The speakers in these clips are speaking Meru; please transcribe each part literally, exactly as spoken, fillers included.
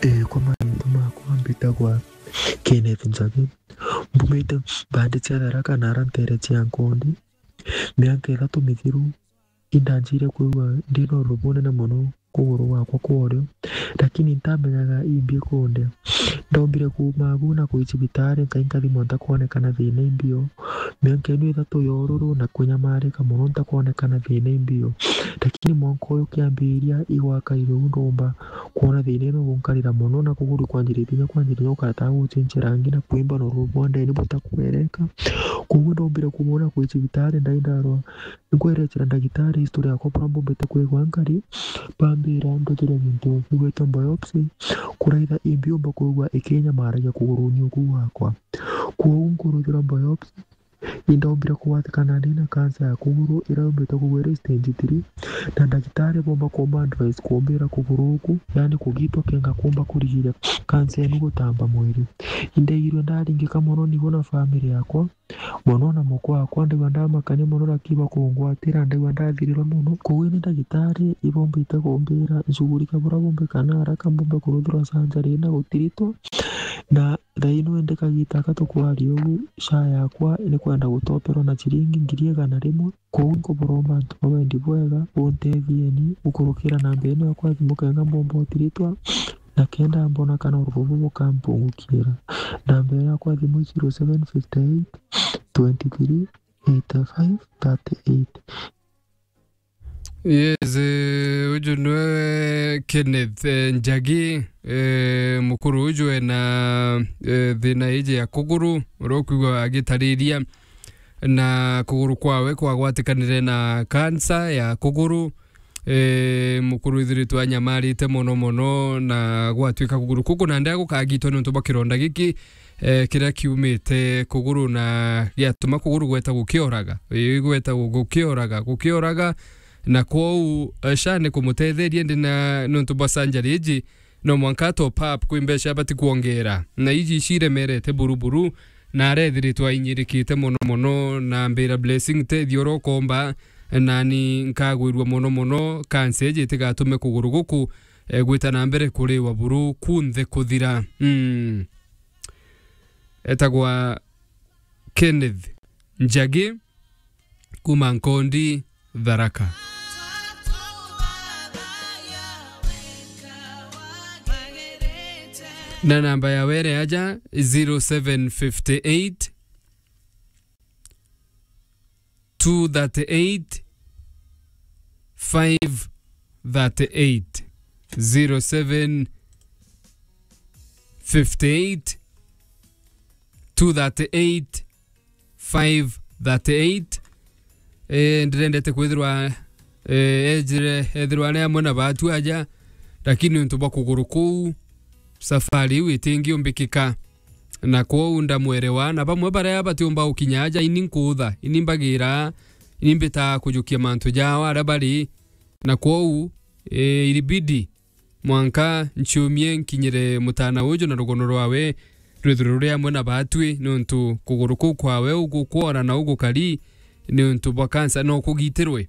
Ee, kwa maringo makwa mbitagwa Kenneth Njagi. Mbumite mbandi cia Tharaka na ara ntere cia Nkondi. Miaka ithatu mithiru, indanjire kwigua ndina urubu bunene mono kuguru gwakwa kwa urio, lakini ntamenyaga imbi kundia. Ndombire kuuma agu na kwi cibitari, nkai nkathimwa ntakwonekana thina imbio. Miaka ino ithatu ya ururu na kunyamarika mono ntakwonekana thina imbio. Lakini mwanka uyu kiambiria igwaka irio, ndomba kwona thina ino gunkarira mono, na kuguru kwanjiritie kinya kwanjiritie gukara ta gucinchia rangi na kwimba na ururu bwa ndeni butakwereka. Koguo ndombire kumwona kwi cibitari, ndai ndarwa. Nkwerecera ndagitari history yakwa buria mbumbite kwigua nkari, bambira ndutire gintu gigwitwa biopsy, kuraitha imbiumba kwigua ikinyamaragia kuguruni uku gwakwa. Kwou nkuruthirwa biopsy, indombire kugwatikana ndina cancer ya kuguru iria yumbite kugwa iri stage three, na ndagitari bomba kumba advice kumbira kuguru uku, yani kugitwa kenga kumba kurigiria cancer inu gutamba mwiri. Indaigirwe ndaringika mono nigo na family yakwa, mono na mukwa wakwa, ndaigua ndamakania mono, lakini bakungwatira, ndaigua ndathirirwa mono. Koguo ni ndagitari ibombite kumbira nshughulike buria bumbika na haraka mbumbe kuruthirwa surgery na gutiritwa. Na thaa ino indi kagita aka tukwaria ugu, SHA yakwa ni kwenda gutoperwa na ciringi ngiri igana rimwe. Koguo nkuburomba antu ba wendi bwega, buntethieni gukurukira namba ino yakwa ya thimu kenga mbomba utiritwa, na kenda mbona kana urubu bukampungukira. Namba ino yakwa ya thimu i zero seven fifty eight twenty three eighty five thirty eight. Yes, eh, uju niwe Kenneth, eh, Njagi, eh, mukuru uju ena, eh, thina iji ya kuguru, uria ukwigua agitariria na kuguru kwawe kwagwatikanire na kansa ya kuguru. E, mukuru ithiritwe anyamarite mono mono na gwatuika kuguru kuku na ndea gukagitwa niuntu bwa kironda giki, e, kiria kiumite kuguru na giatuma kuguru gweta gukioraga. Ii, gweta gu-, gukioraga, gukioraga. Na kwou, e, SHA ni kumutetheria ndi na niuntu bwa surgery iji, no mwanka top up kwi mbeca abati kwongera. Na iji ciremerete buru buru, na arethiritwe ainyirikite mono mono, na mbira Blessing, tethia uria ukomba, nani nkagwirua mono mono, kansa iji itigatume kuguru guku, e, gwita na mbere kuriwa buru kunthe kuthira. Mm. Etagwa Kenneth Njagi. Kuma Nkondi, Tharaka. Na namba ya were aja, zero seven fifty eight, two thirty eight, five thirty eight. Zero seven fifty eight, two thirty eight, five thirty eight. Eh, ndirendete kwithirwa, eh, ejire, ethirwa ari amwe na batu aja, lakini untu bwa kuguru kuu, safari iu itingiumbikika. Na kwou ndamwerewa, na bamwe baria batiumba gukinya aja, ini nkuutha, ini mbagira, ini mbitaa kujukia mantu jao aria bari. Na kwou, eh, ilibidi mwanka nchiumie nkinyire mutana uju na rugono rwawe rwithirwe ruri amwe na baatwi, niuntu kuguru kuu kwawe ugukwora na ugukari niuntu bwa kansa no kugitirwe.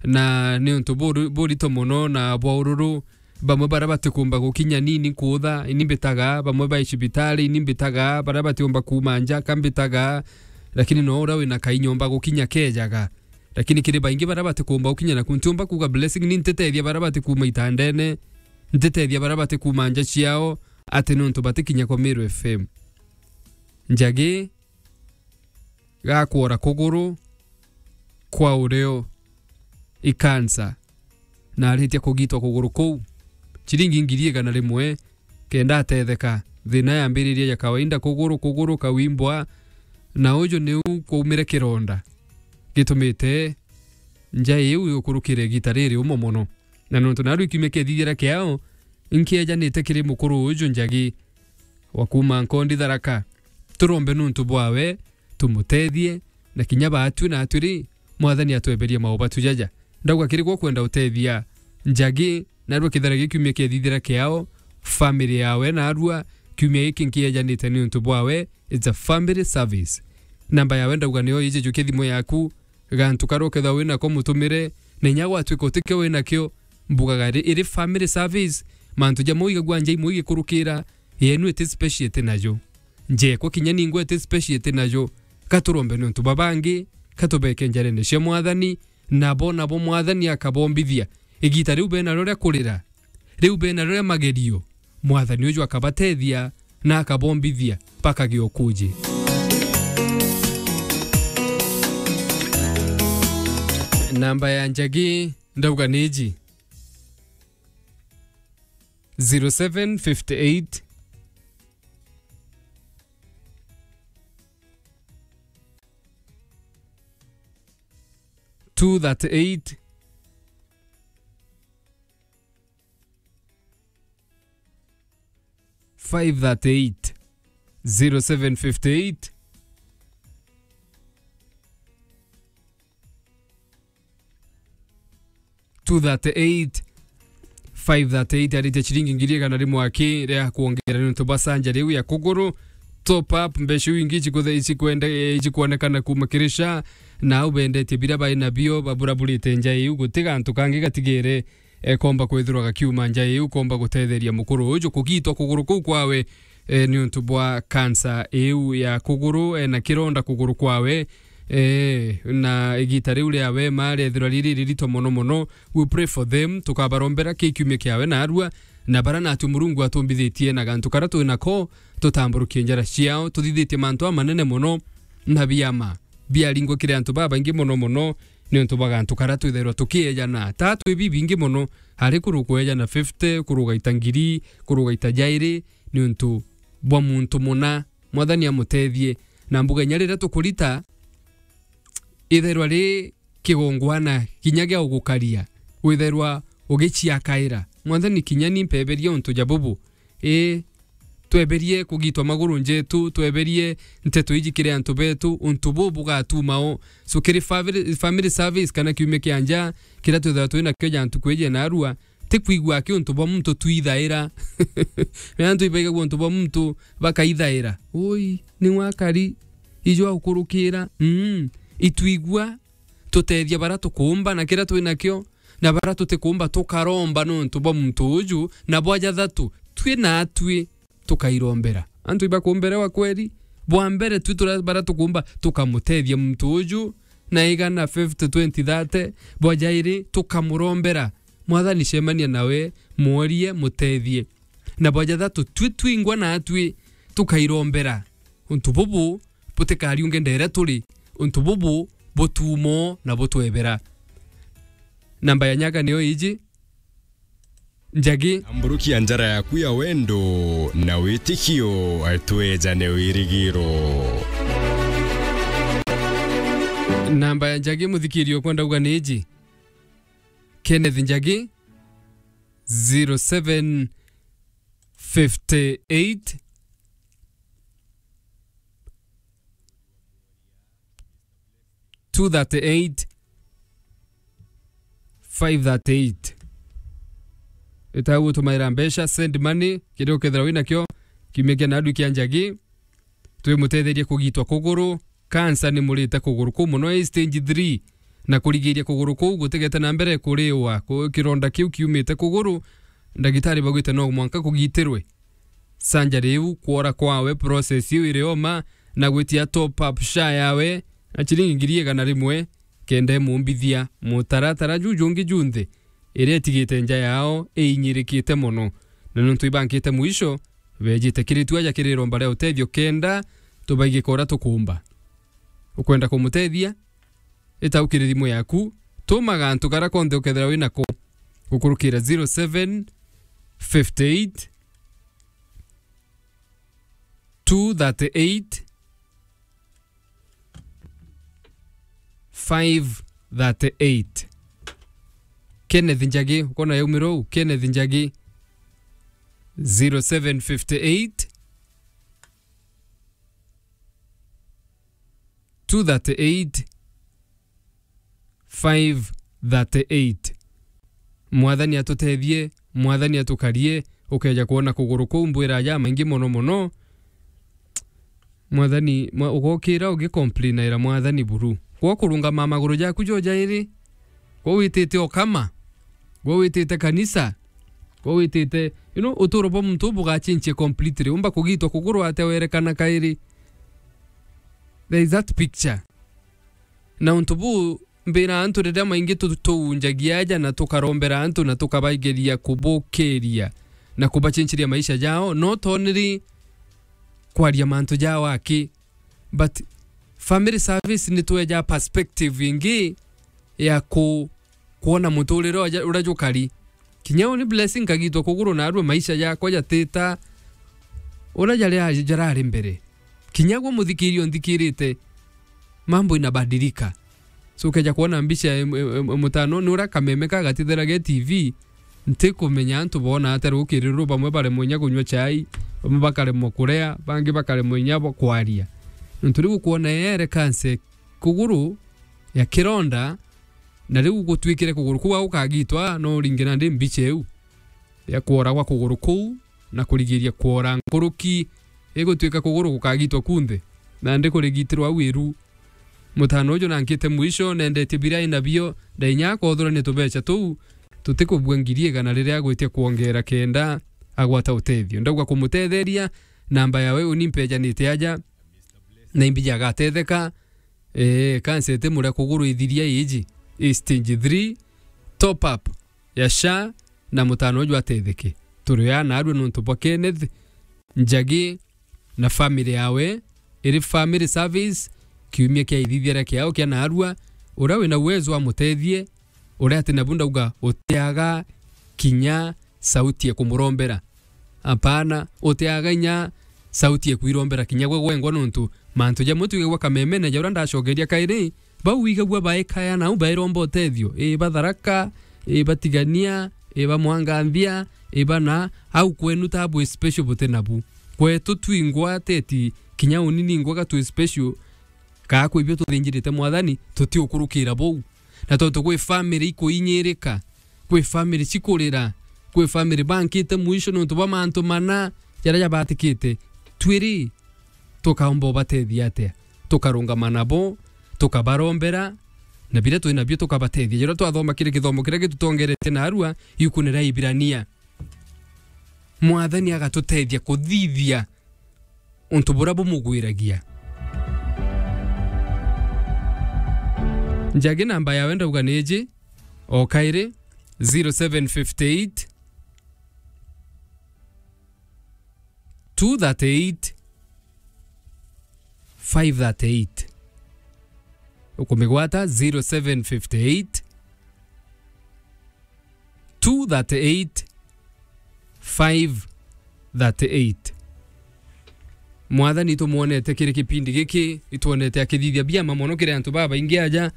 Na niuntu buri-, burito mono na bwa ururu, bamwe baria batikumba gukinya nini nkuutha, ini mbitaga, bamwe bai cibitari, ini mbitaga, baria batiumba kuuma nja, ka mbitaga, lakini no uria wina kainyomba gukinya kejaga. Lakini kiri baingi baria batikumba gukinya naku, ntiumba kuuga Blessing, ni ntitethia baria batikuuma itandene, ntitethia baria batikuuma nja ciao, ati niuntu batikinya kwa Meru F M. Njagi gakwora kuguru kwa urio i kansa, na aritia kugitwa kuguru kuu. Ciringi ngiri igana rimwe, kenda atetheka. Thina yambiririe ya kawaida, kuguru, kuguru kawimbwa, na uju niu kwaumire kironda gitumite nja iu yukurukire igita riri umo mono. Na nontu naru ikiumia kiathithira kiao, inkiejanite kiri mukuru uju Njagi wa kuuma Nkondi Tharaka. Turombe nuntu bwawe, tumutethie, na kinya baatwi natwi ri, Mwathani atweberie maubatu jaja. Ndauga kiri gwo kwenda utethia Njagi, narua kithara gi kiumia kiathithira kiao, family yawe narua, kiumia giki nkiejanite niuntu bwawe, it's a family service. Namba yawe ndauga niyo iji, jukia thimu yaku, gantu karia ukethwa winako mutumire, na inya gwatwika utikio winakio, mbugaga ri, iri family service, Mantu jamwe igagua nja imwe igikurukira, yenu iti special iti nayo. Njekwa kinya ningwa iti special iti nayo. Katurombe niuntu bwa bangi, katubeke njarene cia Mwathani, nabo, nabo Mwathani akabombithia. Igita riu bena rio ria kurira, riu bena rio ria magerio, Mwathani uju akabatethia na akabombithia mpaka giokuji. Namba ya Njagi, ndauga ni iji. Zero seven fifty eight, two thirty eight, five thirty eight, zero seven fifty eight, two thirty eight, five thirty eight, aritie ciringi ngiri igana rimwe aki ria kwongera niuntu bwa sanja riu ya kuguru. Top up, mbeca iu ingi icikwenda, icikwenda, eh, icikwonekana kuuma kiri SHA, na au bendetie bira bai nabio, baburaburite nja iu, guti gantu kangi gatigere, eh, komba kwithirwa gakiuma nja iu, komba gutetheria mukuru uju kugitwa kuguru kuu kwawe, eh, niuntu bwa kansa iu ya kuguru, eh, na kironda kuguru kwawe, eh, na igita riu riawe ma riethirwa riri ririto mono mono. We pray for them, tukabarombera ki kiumia kiawe narua, na bara natu Murungu atumbithitie na gantu karia twi nako, tutamburukie njara ciao, tuthithitie mantu amanene mono na biama biaringwa kiri antu babaingi mono mono, niuntu bwa gantu karia twithairwa tukiejana. Ta twi bibingi mono, ari kuruga kwejana fifty, kuruga ita ngiri, kuruga ita jairi, niuntu bwa muntu muna, Mwathani amutethie. Na mbuga inya riria tukurita, ithairwa ri kigongwana kinya gia ugukaria, withairwa ugiciakaira. Mwathani, kinya ni mpeberie untu ja bubu. Ii, tweberie kugitwa maguru njetu, tweberie nteto iji kiri antu betu, untu buu bugatuma o. So, kiri family, family service kana kiumia kia nja, kiria twithagirwa twi nakio ja ntuku iji ya narua, ti kwigua aki untu bwa muntu twithaira. Riria antu ibaigagua untu bwa muntu bakaithaira. Ui, ni wakari, ijo aukurukira. Mm, itwigua, tutethia bara tukumba na kiria twi nakio, na bara tutikumba tukaromba niuntu bwa muntu uju, na bwa jathatu, twi natwi tukairombera. Antu ibakumberewa kweri, bwa mbere twi turia bara tukumba tukamutethia muntu uju, na igana, fifty, twenty, thirty, bwa jairi tukamurombera. Mwathani, cemania nawe, mworie, mutethie. Na bwa jathatu, twi twingwa natwi tukairombera. Untu bubu butikariunge ndeere turi, untu bubu butumo na butwebera. Namba ya nyaga niyo iji, Njagi. Amburukia njara yaku ya wendo na witikio, twejane wirigiro. Namba ya Njagi, muthikirio kwenda uga ni iji. Kenneth Njagi, zero seven fifty eight, two thirty eight, five thirty eight. Ita gutumaira mbeca, send money, kiria ukethira winakio, kiumia kia narua kia Njagi. Twimutetherie kugitwa kuguru. Kansa ni murite kuguru kuu mono, i stage three, na kurigiria kuguru kuu gutigete na mbere kuriwa. Ku-, kironda kiu kiumite kuguru, ndagitari baugite no mwanka kugitirwe. Surgery iu, kwora kwawe, process iu iri oma, na gwitia top up SHA yawe na ciringi ngiri igana rimwe, kenda imumbithia mutaratara juu jungi junthe iria itigite nja yao iinyirikite mono. Na niuntu ibankite mwisho, bejite kiri tu aja kiri iromba ria utethio kenda tubaigika uria tukumba. Ukwenda kumutethia? Ita u kiri thimu yaku, tuma gantu karia konthe ukethira winako gukurukira zero seven fifty eight, two thirty eight, five thirty eight. Kenneth Njagi, ukona yaumira uu? Kenneth Njagi, zero seven fifty eight, two thirty eight, five thirty eight. Mwathani atutethie, Mwathani atukarie, ukeja kwona kuguru kuu mbwira aja maingi mono mono. Mwathani, mwa-, ugokira ugicomplainaira Mwathani buru. Gwa kurungama maguru jaku jo jairi, gwa witite okama, gwa witite kanisa, Kwa witite, you know, uturo bwa muntu bugachinchia completely. Umba kugitwa kuguru atia werekana kairi. There is that picture. Na untu buu, mbira antu riria maingi tu-, tuunjagia aja na tukarombera antu na tukabaigeria kubukiria na kubachinchiria maisha jao, no toniri kwaria mantu jao aki. But family service ni tweja perspective ingi ya ku-, kwona muturire uria, uria jukari. Kinya uni Blessing nkagitwa kuguru narua maisha jakwa jatita uria jari, jarari mbere. Kinya gwe muthikiria unthikirite, mambo inabadilika. So ukeja kwona mbica ya em-, em-, em-, mutano ni uria kameme kagatithera ge T V, ntikumenya antu boona atia rukiri ruru, bamwe baremwa inya kunywa chai, bamwe bakaremwa kuria, bangi bakaremwa inya bo kwaria. Nontu riu ukwona yere kanse kuguru ya kironda, na riu gutwikire kuguru kuu gukagitwa, no uringe nandi mbica iu ya kwora gwa kuguru kuu, na kurigiria kwora nkuruki, igutwika kuguru gukagitwa kunthe, nandi kurigitirwa au iru. Mutano uju nankite mwisho, nendetie biria inabio, ndainya akothurania tubecha tuu, tutikubua ngiri igana riria agwitia kwongera kenda agwata utethio. Ndauga kumutetheria, namba yawe uni mpejanite aja, na imbiji agatetheka. Ee, kansa itimuria kuguru ithiria iji, i stage three, top up ya SHA, na mutano uju atetheke. Turi aa narua nontu bwa Kenneth Njagi na family yawe, iri family service, kiumia kia ithithiria kiao kia narua, uria wina uwezo amutethie, uria ati nabu ndauga utiaga kinya sauti ya kumurombera. Apana, utiaga inya sauti ya kwirombera kinya gwe gwengwa, nontu mantu jamwe twigagua kamemene ja uria ndacokeria kairi, bau wigagua baikaya nau bairomba utethio, ii ba Tharaka, ii ba Tigania, ii ba Mwanganthia, ii ba na, au kwenu ta bwi special buti nabu. Kwetu twingwa teti kinya uni ningwa ga twi special, kaa kwi bio tuthinjirite Mwathani, tutiukurukira bou. Na tontu kwi family ikuinyirika, kwi family cikurira, kwi family bankite mwisho nontu bwa mantu mana jaria jabatikite, twiri tukaumba ubatethia atia? Tukarungama nabo, tukabarombera, na biria twi nabio tukabatethia. Jaria twathoma kiri kithomo kiria gitutongerete narua, iukune ria Ibirania, Mwathani agatutethia kuthithia untu buria bumugwiragia. Njagi namba yawe ndauga ni iji, o kairi, zero seven fifty eight, two thirty eight, five thirty eight. Ukumigwata zero seven fifty eight, two thirty eight, five thirty eight. Mwathani itumuonete kiri kipindi giki, itwonete akithithia biama mono kiri antu babaingi aja,